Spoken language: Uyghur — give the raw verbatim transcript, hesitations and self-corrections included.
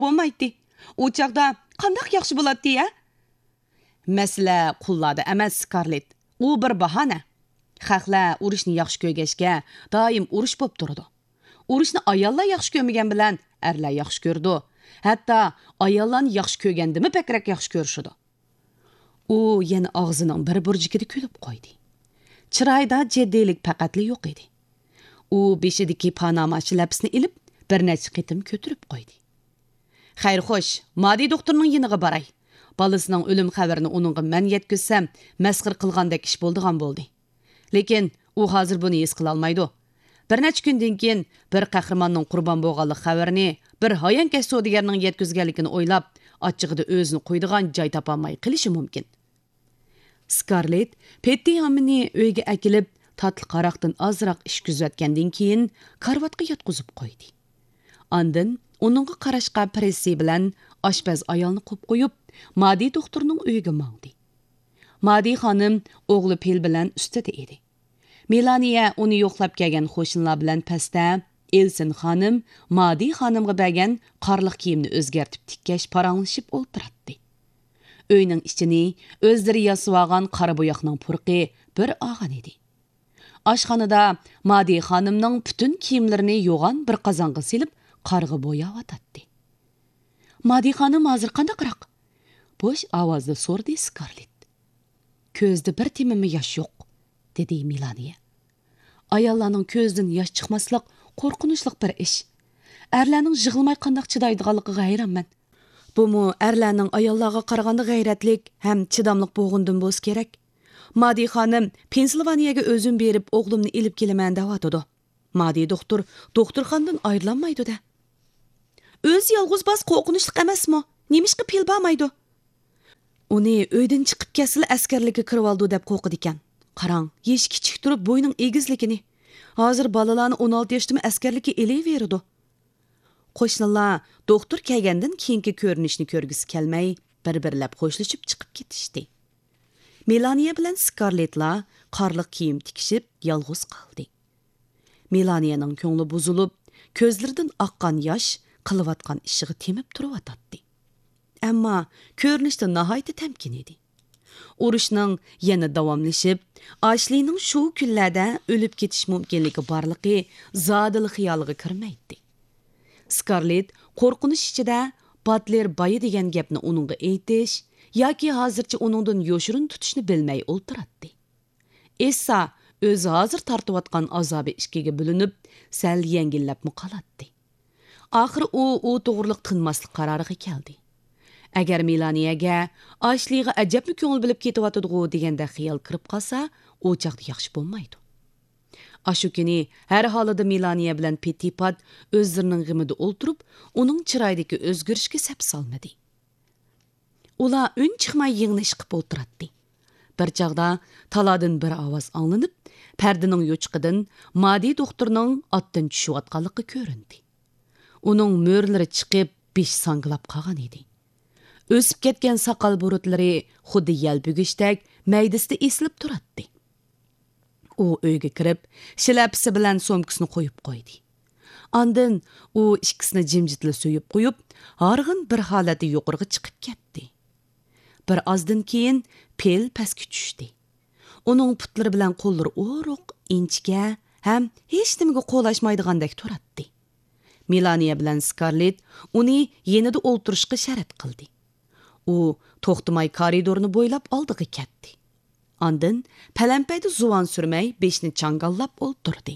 بولمايتتى. ئۇ چاغدا قانداق ياخشى بولاتتى، ھە؟ مەسىلە قۇللاردا ئەمەس، سكارلېت. ئۇ بىر باھانە. خەقلەر ئۇرۇشنى ياخشى كۆرگەچكە، دائىم ئۇرۇش بولۇپ تۇرىدۇ. ئۇرۇشنى ئاياللار ياخشى كۆرمىگەن بىلەن ئەرلەر ياخشى كۆرىدۇ. ھەتتا ئاياللارنى ياخشى كۆرگەندىنمۇ بەكرەك ياخشى كۆرۈشىدۇ. ئۇ يەنە ئاغزىنىڭ بىر بۇرجىكىدا كۈلۈپ قويدى. چىرايىدا جىددىيلىك پەقەتلا يوق ئىدى. ئۇ بېشىدىكى پاناما شىلەپىسىنى ئېلىپ، بىر نەچچە قېتىم كۆتۈرۈپ قويدى. خەير خوش، مادى دوختۇرنىڭ يېنىغا باراي. بالىسىنىڭ ئۆلۈم خەۋىرىنى ئۇنىڭغا مەن يەتكۈزسەم، مەسخىرە قىلغاندەك ئىش بولىدىغان بولدى. لېكىن ئۇ ھازىر بۇنى ھېس قىلالمايدۇ. بىر نەچچە كۈندىن كېيىن بىر قەھرىماننىڭ قۇربان بولغانلىق خەۋىرىنى بىر ھايانكەش سودىگەرنىڭ يەتكۈزگەنلىكىنى ئويلاپ، ئاچچىقىدا ئۆزىنى قويىدىغان جاي تاپالماي قېلىشى مۇمكىن. سكارلېت پېتتى ھامىنى ئۆيگە ئەكېلىپ، تاتلىق ھاراقتىن ئازراق ئىچكۈزۈۋەتكەندىن كېيىن، كارىۋاتقا ياتقۇزۇپ قويدى. ئاندىن ئۇنىڭغا قاراشقا پىرېسسى بىلەن ئاشپەز ئايالنى قويۇپ قويۇپ، مادى دوختۇرنىڭ ئۆيىگە ماڭدى. مادى خانىم ئوغلى پىل بىلەن ئۈستىدە ئىدى. مېلانىيە ئۇنى يوقلاپ كەلگەن قوشنىلار بىلەن پەستە ئېلسىن خانىم مادى خانىمغا بەرگەن قارلىق كىيىمنى ئۆزگەرتىپ تىككەچ پاراڭلىشىپ ئولتۇراتتى. ئۆينىڭ ئىچىنى ئۆزلىرى ياسىۋالغان قارا بوياقنىڭ پۇرىقى بىر ئالغان ئىدى. ئاشخانىدا مادى خانىمنىڭ پۈتۈن كىيىملىرىنى يوغان بىر قازانغا سېلىپ، قارغا بوياۋاتاتتى. مادى خانىم ھازىر قانداقراق؟ بوش ئاۋازدا سورىدى سكارلېت. كۆزىدە بىر تېمىمۇ ياش يوق، دېدى مېلانىيە. ئاياللارنىڭ كۆزىدىن ياش چىقماسلىق قورقۇنچلۇق بىر ئىش. ئەرلەرنىڭ يىغلىماي قانداق چىدايدىغانلىقىغا ھەيرانمەن. بۇمۇ ئەرلەرنىڭ ئاياللارغا قارىغاندا غەيرەتلىك ھەم چىداملىق بولغىنىدىن بولسا كېرەك. مادى خانىم پېنسىلۋانىيەگە ئۆزۈم بېرىپ ئوغلۇمنى ئېلىپ كېلىمەن دەۋاتىدۇ. مادى دوختۇر دوختۇرخانىدىن ئايرىلالمايدۇ-دە. ئۆزى يالغۇز باس قورقۇنچلۇق ئەمەسمۇ؟ نېمىشقا پىل بارمايدۇ؟ ئۇنى ئۆيدىن چىقىپ كەتسىلا ئەسكەرلىككە كىرىۋالىدۇ دەپ قورقىدىكەن. قاراڭ، يېشى كىچىك تۇرۇپ بوينىڭ ئېگىزلىكىنى. ھازىر بالىلارنى ئون ئالتە ياشتىمۇ ئەسكەرلىككە ئېلىۋېرىدۇ. قوشنىلار دوختۇر كەلگەندىن كېيىنكى كۆرۈنۈشنى كۆرگۈسى كەلمەي، بىر-بىرلەپ خوشلىشىپ چىقىپ كېتىشتى. مېلانىيە بىلەن سكارلېتلا قارلىق كىيىم تىكىشىپ، يالغۇز قالدى. مېلانىيەنىڭ كۆڭلى بۇزۇلۇپ، كۆزلىرىدىن ئاققان ياش قىلىۋاتقان ئىشىغا تېمىپ تۇرۇۋاتاتتى. ئەمما كۆرۈنۈشتە ناھايىتى تەمكىن ئىدى. ئۇرۇشنىڭ يەنە داۋاملىشىپ، ئاشلىنىڭ شۇ كۈنلەردە ئۆلۈپ كېتىش مۇمكىنلىكى بارلىقى زادىلا خىيالىغا كىرمەيتتى. سكارلېت قورقۇنچ ئىچىدە باتلېر بايا دېگەن گەپنى ئۇنىڭغا ئېيتىش ياكى ھازىرچە ئۇنىڭدىن يوشۇرۇن تۇتۇشنى بىلمەي ئولتۇراتتى. ئېسسا ئۆزى ھازىر تارتىۋاتقان ئازابى ئىككىگە بۆلۈنۈپ، سەل يەڭگىللەپمۇ قالاتتى. ئاخىرى ئۇ ئۇ توغرىلىق تىنماسلىق قارارىغا كەلدى. ئەگەر مېلانىيەگە ئاشلىغا ئەجەبمۇ كۆڭۈل بۆلۈپ كېتىۋاتىدىغۇ دېگەندەك خىيال كىرىپ قالسا، ئۇ چاغدا ياخشى بولمايدۇ. ئاشۇ كۈنى ھەر ھالىدا مېلانىيە بىلەن پېتتىپات ئۆزلىرىنىڭ غېمىدە ئولتۇرۇپ، ئۇنىڭ چىرايىدىكى ئۆزگىرىشكە سەپ سالمىدى. ئۇلار ئۈن چىقماي يىڭنە ئىشقىپ ئولتۇراتتى. بىر چاغدا تالادىن بىر ئاۋاز ئاڭلىنىپ، پەردىنىڭ يوچۇقىدىن مادى دوختۇرنىڭ ئاتتىن چۈشۈۋاتقانلىقى كۆرۈندى. ئۇنىڭ مۈرىلىرى چىقىپ، بېشى ساڭگىلاپ قالغان ئىدى. ئۆسۈپ كەتكەن ساقال بۇرۇتلىرى خۇددى يەلپۈگۈچتەك مەيدىسىدە ئېسىلىپ تۇراتتى. ئۇ ئۆيگە كىرىپ، شىلەپىسى بىلەن سومكىسىنى قويۇپ قويدى. ئاندىن ئۇ ئىككىسىنى جىمجىتلا سۆيۈپ قويۇپ، ھارغىن بىر ھالەتتە يۇقىرىغا چىقىپ كەتتى. بىر ئازدىن كېيىن پىل پەسكە چۈشتى. ئۇنىڭ پۇتلىرى بىلەن قوللىرى ئورۇق، ئىنچىكە ھەم ھېچنېمىگە قولاشمايدىغاندەك تۇراتتى. مېلانىيە بىلەن سكارلېت ئۇنى يېنىدا ئولتۇرۇشقا شەرت قىلدى. ئۇ توختىماي كارىدورنى بويلاپ ئالدىغا كەتتى. ئاندىن پەلەمپەيدە زۇۋان سۈرمەي بېشىنى چاڭگاللاپ ئولتۇردى.